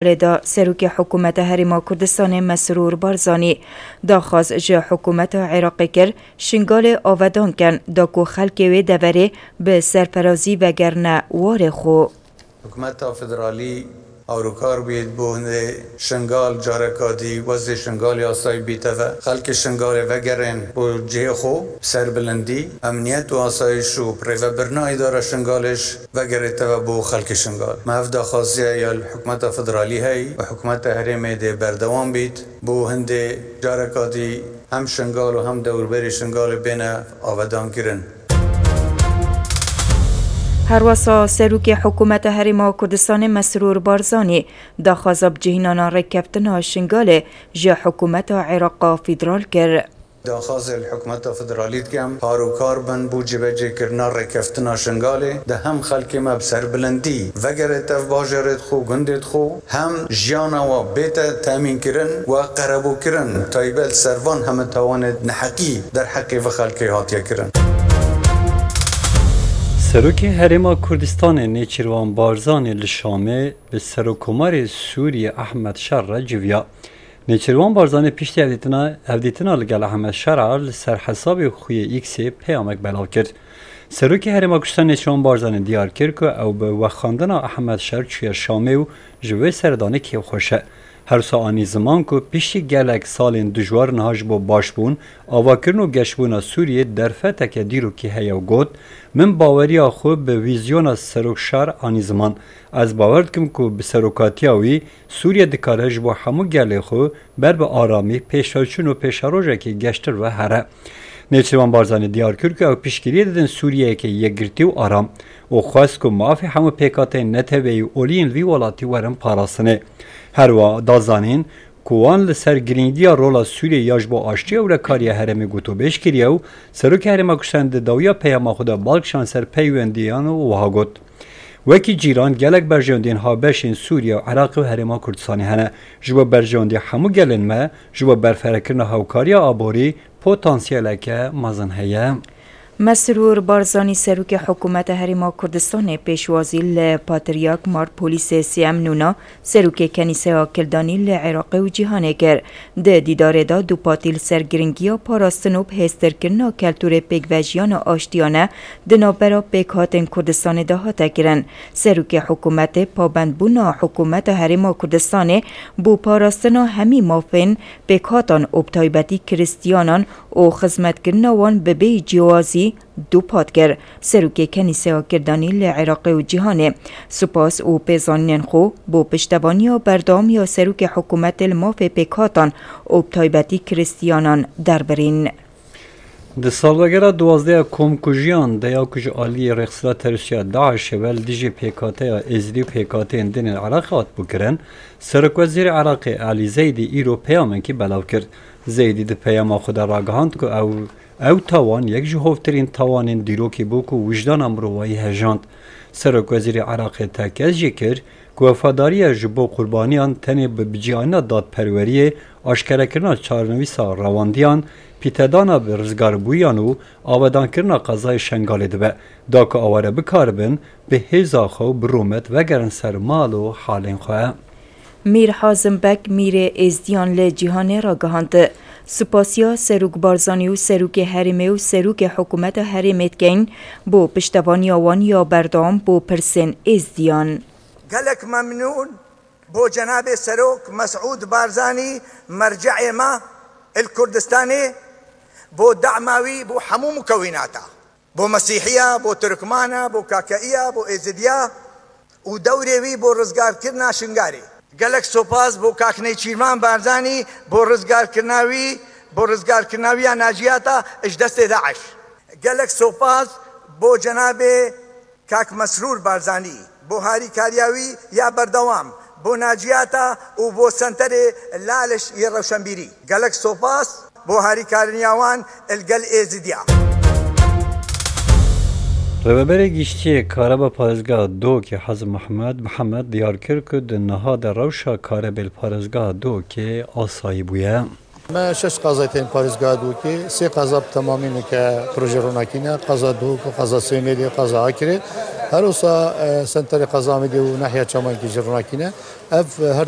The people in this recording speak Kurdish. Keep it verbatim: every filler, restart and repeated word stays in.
Lê de Serokê Hikûmeta Herêma Kurdistanê Mesrûr Barzanî daxwaz ji hikûmeta Iraqê kir, Şingalê avedan kin, da ku xelkê wê deverê bi serferazî vegerine warê xwe. Hikûmeta federalî alokar bûye bo hindê Şingal careka dî wezê Şingalê asayî bîte ve. Xelkê Şingalê vegerên bo cihê xwe, serbilindî, emniyet û asayîş û rêvebirina îdara Şingalê jî vegerête ve bo xelkê Şingal. Me ev daxwaziya ya li hikûmeta federalî heyî û hikûmeta herêmê dê berdewam bît. Bo hindê careka dî hem Şingal û hem dewrberê Şingalê bêne avedankirin. Herwesa Serokê Hikûmeta Herêma Kurdistanê Mesrûr Barzanî daxwaza bicihînana rêkeftina Şingalê ji hikûmeta Iraqa federal kir. Daxwazê li hikûmeta federalî dikim, parokar bin bo cîbecêkirina rêkeftina Şingalê, de hem xelkê me bi serbilindî vegerête ev bajêrê xwe, gundê xwe, hem jiyana we bête temînkirin we qerebûkirin, taybet ser van heme tawanê neheqî derheqê vê xelkê hatiye kirin. Serokê Herêma Kurdistanê Nêçîrvan Barzanî li Şamê bi Serokkomarê Sûriyê Ehmed Şer re civiya. Nêçîrvan Barzanî piştî hevdîtina, hevdîtina li gel Ehmed Şer re li ser hesabê xwe yê X-ê peyamek belav kir. Serokê Herêma Kurdistan Nêçîrvan Barzanî diyar kir ku ew bi wexandina Ehmed Şer çûye Şamê û ji wê serdanê kêfxweş e. Her wisa anî ziman ku piştî gelek salên dijwar niha ji bo başbûn, avakirin û geşbûna Sûriyê derfeteke dîrokî heye û got, Min baweriya xwe bi vîzyona Serok Şer anî ziman. Ez bawer dikim ku bi serokatiya wî Sûriye dikare ji bo hemû gelê xwe ber bi aramî, pêşveçûn û pêşerojekê geştir ve here. Nêçîrvan Barzanî diyar kir ku ew piştgiriyê didin Sûriyeyeke yekgirtî û aram û xwest ku mafê hemû pêkhateyên neteweyî û olî yên vî welatî werin parastinê. Her wiha da zanîn ku wan li ser girîngiya rola Sûriyeyê ya ji bo aştî û ewlekariya herêmê gotûbêj kiriye û Serokê Herêma Kurdistanê di dawiya peyama xwe de bal kişand ser peywendiyan û wiha got, Wekî cîran, gelek berjewendiyên habeş ên Sûriye û Iraqê û Herêma Kurdistanê hene. Ji bo berjewendiya hemû gelên me, ji bo berfirehkirina hewkariya aborî potansiyeleke mezin heye. Mesrûr Barzanî, Serokê Hikûmeta Herêma Kurdistanê, pêşwazî li Patriyark Mar Polîsê Sêyem Nûna, Serokê Kenîseya Kildanî li Iraqê û cîhanê kir. Di dîdarê de dûpatî li ser giringiya parastin û bihêztirkirina keltûrê pêkvejiyana aştiyane di navbera pêkhatên Kurdistanê de hate kirin. Serokê hikûmetê pabendbûna hikûmeta Herêma Kurdistanê bo parastina hemî mafên pêkhatan û bi taybetî Kristiyanan û xizmetkirina wan bi bêyî ciyawazî dûpat kir. Serokê Kenîseya Kirdanî li Iraqê û cîhanê spas û pêzanînên xwe bo piştevaniya berdewam ya Serokê Hikûmetê li mafê pêkhatan û bi taybetî Kristiyanan derbirîn. Di salvegera duwazdeh ya komkujiyan de ya ku ji aliyê rêxistina terorîst ya DAIŞê ve li dijî pêkhateya Êzidî û pêkhateyên din ên Iraqê hatibû kirin, Serokwezîrê Iraqê Elî Zeydî îro peyamekî belav kir. Zeydî di peyama xwe de ragihand ku ew, ew tawan yek ji hovtirîn tawanên dîrokê bû ku wijdana mirovayî hejand. Serokwezîrê Iraqê tekez jî kir ku wefadariya ji bo qurbaniyan tenê bi bicîanîna dadperweriyê, aşkerekirina çarenivîsa rewandiyan, pîtedana bi rizgarbûyiyan û avedankirina qezayê Şengalê dibe, da ku aware bikaribin bi hêza xwe û bi rûmet vegerin ser mal û halên xwe. Mîr Hazim Bek, mîrê Êzdiyan li cîhanê ragihand, sipasiya Serok Barzanî û Serokê Herêmê û Serokê Hikûmeta Herêmê dikeyin bo piştevaniya wan ya berdewam bo pirsên Êzdiyan. Gelek memnûn bo cenabê Serok Mesûd Barzanî, merce'ê me li Kurdistanê, bo dema wî bo hemû mukewînata. Bo Mesîhiya, bo Tirkmana, bo Kakeiya, bo Êzidiya û dewrê wî bo rizgarkirina Şingalê. Gelek sopas bo Kak Nêçîrvan Barzanî bo rizgarkirina wî, bo rizgarkirina wî ya naciyata ji destê DAIŞ. Gelek sopas bo cenabê Kak Mesrûr Barzanî bo harîkariya wî ya berdewam bo naciyata û bo senterê Laliş yê rewşenbîrî. Gelek sopas bo harîkariniya wan li gel Êzidiya. Rêveberê Giştî yê Kareba Parêzgeha Duhokê Hazim Mehmed Mihemed diyar kir ku di niha de rewşa karebê li Parêzgeha Duhokê asayî bûye. Me şeş qazayê tên Parêzgeha Duhokê, sê qaza bi temamî nike proje ronakî ne, qaza Duhok, qaza Sêmêlê, qaza Akirê. Her wisa, e, senterê qaza Amêdê û nahiya Çamankê jî ronakî ne. Ev, e, her